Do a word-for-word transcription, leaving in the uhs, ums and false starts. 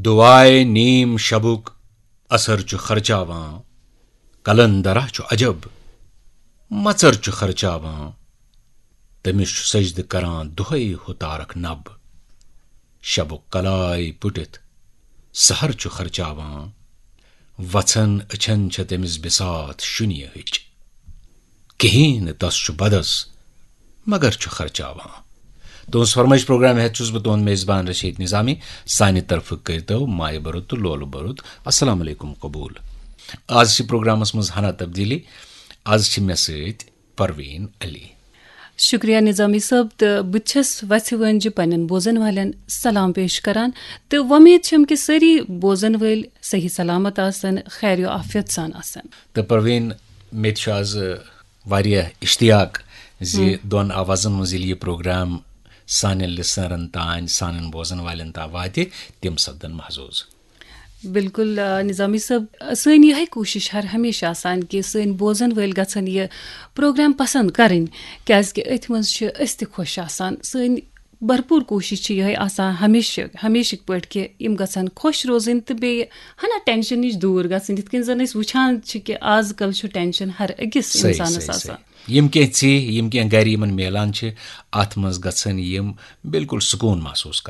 دعائے نیم شبُک اثر چھُ خرچاوان۔ قلندرہ چھُ عجب مژر چھُ خرچاوان۔ تٔمِس چھُ سجدٕ کران دۄہے ہُہ تارک نب۔ شبُک کلاے پُٹِتھ سحر چھُ خرچاوان۔ وژھن أچھن چھےٚ تٔمِس بساط شُنیہٕچ۔ کِہیٖنۍ نہٕ تس چھُ بدس مگر چھُ خرچاوان۔ تُہنٛز فرمٲیش پروگرام ہٮ۪تھ چھُس بہٕ تُہنٛد میزبان رشید نظامی۔ سانہِ طرفہٕ کٔرۍتو مایہِ بھرُت تہٕ لولہٕ بھرُت السلام علیکم قبول۔ آز چھِ پروگرامس منٛز ہنا تبدیلی۔ آز چھِ مےٚ سۭتۍ پروین علی۔ شکریہ نظامی صٲب، تہٕ بہٕ تہِ چھَس وَژھِ وٲنجہِ پننٮ۪ن بوزن والٮ۪ن سلام پیش کران تہٕ وۄمید چھم کہِ سٲری بوزن وٲلۍ صحیح سلامت آسن، خیر و عافیت سان آسن۔ تہٕ پروین، مےٚ تہِ چھُ آز واریاہ اشتیاق زِ دۄن آوازن منٛز ییٚلہِ یہِ پروگرام سانٮ۪ن لسنرن تام، سانٮ۪ن بوزن والٮ۪ن تام واتہِ، تِم سپدن محظوظ۔ بِلکُل، آ، نظامی صٲب، سٲنۍ یِہے کوٗشِش ہر ہمیشہِ آسان کہِ سٲنۍ بوزن وٲلۍ گژھن یہِ پروگرام پسند کرٕنۍ، کیازِ کہِ أتھۍ منٛز چھِ أسۍ تہِ خۄش آسان۔ سٲنۍ بھرپوٗر کوٗشِش چھِ یِہے آسان ہمیشہِ، ہمیشِکۍ پٲٹھۍ کہِ یِم گژھن خۄش روزٕنۍ تہٕ بیٚیہِ ہنا ٹینشن نِش دوٗر گژھٕنۍ۔ یِتھ کٔنۍ زن أسۍ وٕچھان چھِ کہِ آز کل چھُ ٹینشن ہر أکِس صحیح، انسانس صحیح، آسان۔ صحیح۔ یِم کینٛہہ ژیہۍ، یِم کینٛہہ گرِ یِمن میلان چھِ، اتھ منٛز گژھن یِم بِلکُل سکوٗن محسوٗس کرٕنۍ۔